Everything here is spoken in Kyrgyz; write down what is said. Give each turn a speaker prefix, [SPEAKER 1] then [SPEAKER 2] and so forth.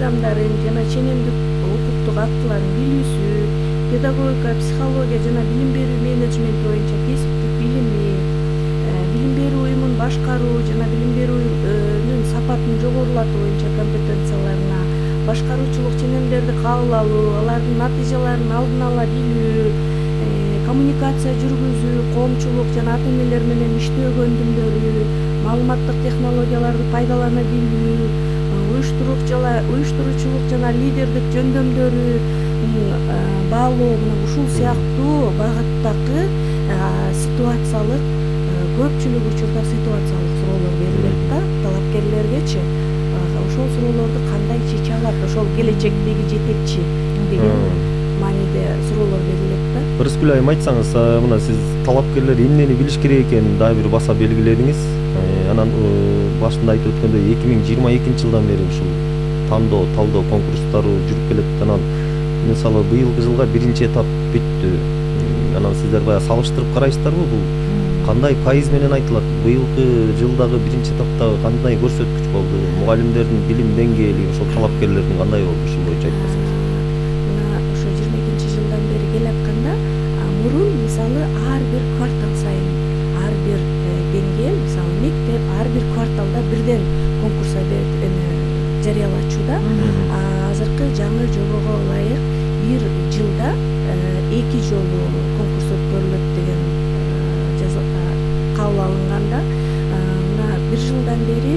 [SPEAKER 1] мыйзамдарын жана ченемдик укуктук актыларын билүүсү, педагогика, психология жана билим берүү менеджменти боюнча кесиптик билими, билим берүү уюмун башкаруу жана билим берүүнүн сапатын жогорулатуу боюнча компетенцияларына, башкаруучулук ченемдерди кабыл алуу, алардын натыйжаларын алдын ала билүү, коммуникация жүргүзүү, коомчулук жана ата-энелер менен иштөө көндүмдөрү, маалыматтык технологияларды пайдалана билүү, уюштуруучулук жана лидердик жөндөмдөрү баалоо, мына ушул сыяктуу багыттагы ситуациялык, көпчүлүк учурда ситуациялык суроолор берилет да талапкерлергечи. Ошол суроолорду кандай чече алат, ошол келечектеги жетекчи деген мааниде суроолор берилет да.
[SPEAKER 2] Ырыскүл айым, айтсаңыз, мына сиз талапкерлер эмнени билиш керек экенин дагы бир баса белгиледиңиз. Анан башында айтып өткөндөй 2022 жылдан бери ушул талдоо конкурстары жүрүп келет. Анан мисалы быйылкы жылга биринчи этап бүттү. Анан сиздер баягы салыштырып карайсыздарбы? Бул кандай пайыз менен айтылат? Быйылкы жылдагы биринчи этаптагы кандай көрсөткүч болду? Мугалимдердин билим деңгээли, ошол талапкерлердин кандай болду? Ушул боюнча айтпасаңыз.
[SPEAKER 1] Мына ошо 22 жылдан бери келатканда, мурун мисалы ар бир квартал сайын ар бир деңгээл, мисалы мектеп ар бир кварталда бирден конкурс жарыялачууда. Азыркы жаңы жобого ылайык бир жылда 2 жолу конкурс өткөрүлөт деген кабыл алынганда, мына бир жылдан бери